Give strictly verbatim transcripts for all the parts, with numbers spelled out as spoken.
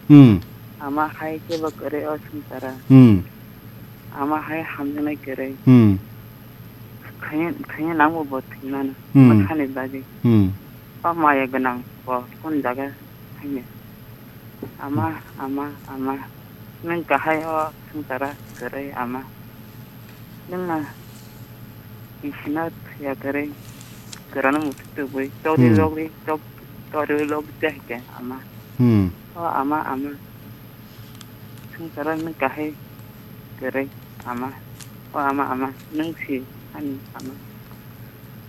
Hmm. Ama hai kebo kwrwi o swngcharo. Hmm. Ama hai hamjaknai kwrwi. Hmm. Thwngya, thwngya nangbo bo thwimano. Hmm. Bwsani bagwi. Hmm. O maya gwnang bo kunu jaga thangya. Ama, ama, ama. Nwng kahai o swngcharo kwrwi ama. Nwng na bisina thwiya kwrwi kwrwngno muthuk tubui. Chokri Hmm. lokri, chok-, chokri lokri tei hwnkhe ama. Hmm. O ama, ama. Swngcharo nwng kahai kwrwi ama. O ama, ama. Nwng si ani ama.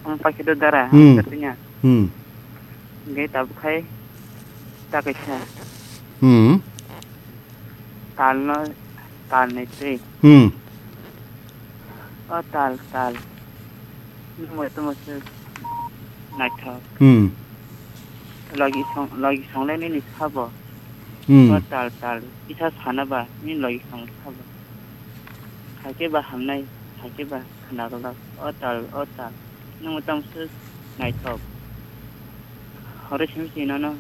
Ang paikhe do dara, Hmm. ang kwrwngya. Hmm. Hwnkhe tabuk khai ta kaisa. Hmm. Talno, talni twi. Hmm. O tal, tal. Nwng tamo se naithok. Hmm. Logi song, logi songle nini sabo. Hmm. O tal, tal. Kisa sana ba, nini logi song sabo. Hakhe ba hamnai, hakhe ba khwnaglak. O tal, o tal. Nwng tamo se naithok. Horo simi sino no,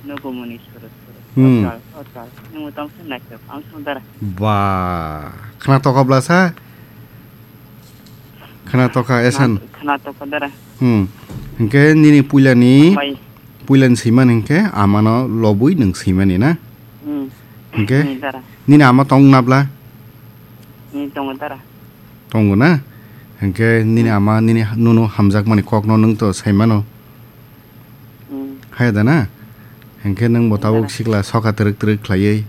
no gumuni suru suru. Hmm. O tal, o tal. Nwng tamo se naithok. Ang song dara. Ba, khwnatok bwlasa? Khwnatok kha, Esan. Khwnatok kha dara. Hmm. Hwnkhe nini puilani, Bai. puilani swiman hwnkhe amano lobwi nwng swimani na? Hmm. Hwnkhe Hmm, dara. nini ama tong nabla? Hmm, tongo dara. Tongo na? Hwnkhe nini Hmm. ama nini ha-, nono hamjakmani kokno nwng to saimano. Hmm. Haya da na? Hwnkhe nwng bo tabuk Dara. sikla soka twrwk twrwk khlaiwi.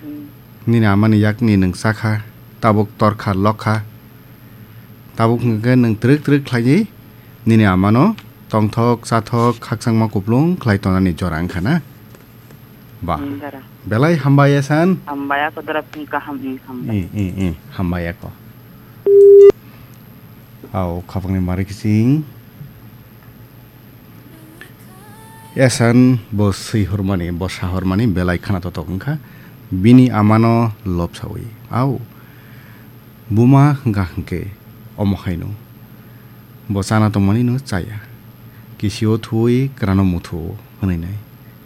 Hmm. Nini amani yakni nwng chakha, tabuk torkha lokha. Tabuk hwnkhe nwng twrwk twrwk khlaiwi nini amano tongthok chathok khakchangma kuplung khlai tonani jora wngkha na? Ba. Hmm, dara. Belai hambai Esan. Hambai ako dara, pung kaham, hmm, hambai. Hmm, hmm, hmm, hambai ako. Au, khapangni mari kiching. Esan bo swi hormani, bo sa hormani belai khana totok wngkha. Bini amano lobsawi. Au, buma hwnkha hwnkhe omo haino. Bo chana tongmani no chaya. Kisio thuwi kwrano muthuo hwnwi nai.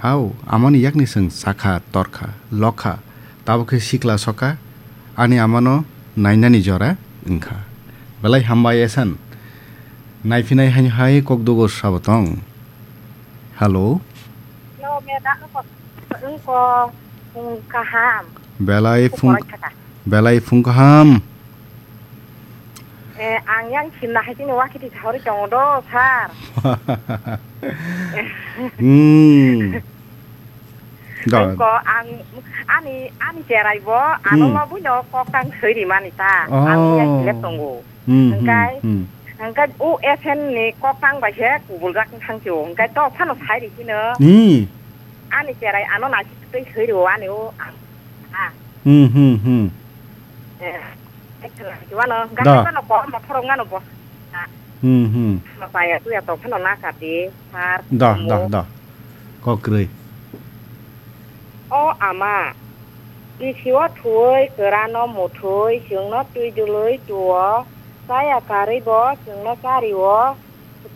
Hao, amani yakni chwng chakha, torkha, lokha, tabuk khe sikla soka, ani amano nainani jora wngkha. Belai hambai Esan. Naiphinai haino hai kok dugo sabo tong. Hello. Hello, meda ko, ko, ko, kaham. Belai phung, belai phung kaham. Eh, ang yang simna hai sini wakiti sahori tongo do, sir. Hmm. Da. Ko ang ani, ani cherai bo, ano Hmm. lobwi no kok tang soi ri mani ta. Ang yang Oh. Silep tongo. Hmm, hmm, Hingkai, hmm. hingkai u S N ni kok tang bai se kubul jak thang sio. Hingkai to phano sai ri sino. Hmm. Ani cherai ano nai tei soi ri o ani o. Ah. Hmm, hmm, hmm. Eh, ekla kiwano, Da. gahai mano ko mothorok ngano bo. Ah. Hmm, hmm. Mapaya tuya to phano na kati, sar, Da, da, mo. da. Kokrwi. O ama, bisio thuwi, kwrano muthwi, chwngno twi dulwi tuo, chaya karwi bo chwngno chario,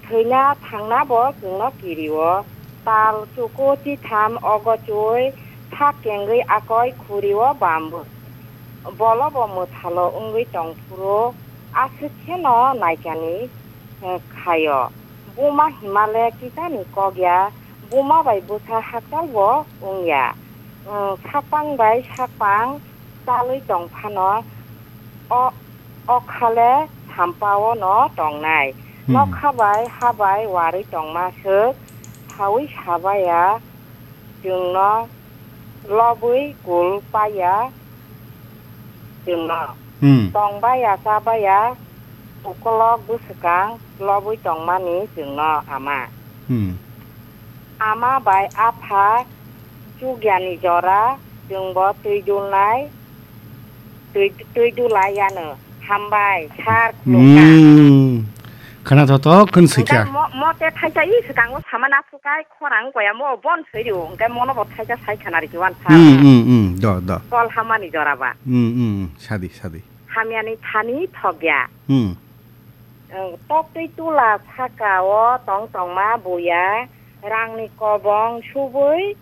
thwina thangna bo chwngno kirio, tal chuku chitham ogo chwi, sak kengwi akoi khurio bambu. Bolo bo mwthalo wngwi tong phuru aswk kheno naikani, eh, khaio. Buma himale kisani kok ya, buma bai bwsa hakchal bo wng ya. Wng, sakpang bai sakpang chalwi tong phano, o, o khale sampao no tongnai. Hmm. Nokha bai ha bai warwi tongma swk saui sabaya, chwngno lobwi kul paiya chwngno. Hmm. Tongbaya chabaya ukolok bwswkang lobwi tongmani chwngno ama. Hmm. Ama bai apha chugyani jora chwngbo twi dulnai, twi, twi dulai yano. Hambai, sir, khulumkha. Hmm. Khana thothok khun sikha. Hingke mo, mo te thaisa i swkango samana phukai khorang koya mo bon soi rio. Hingke mono bo thaisa sai khana riki wan sa. Hmm, hmm, hmm. Do, do. Kol hamani jora ba. Hmm, hmm, hmm. Sadi, sadi. Hamyani thani thokya. Hmm. Ang tok twi tula saka o tong tongma buya. Rangni kobong subui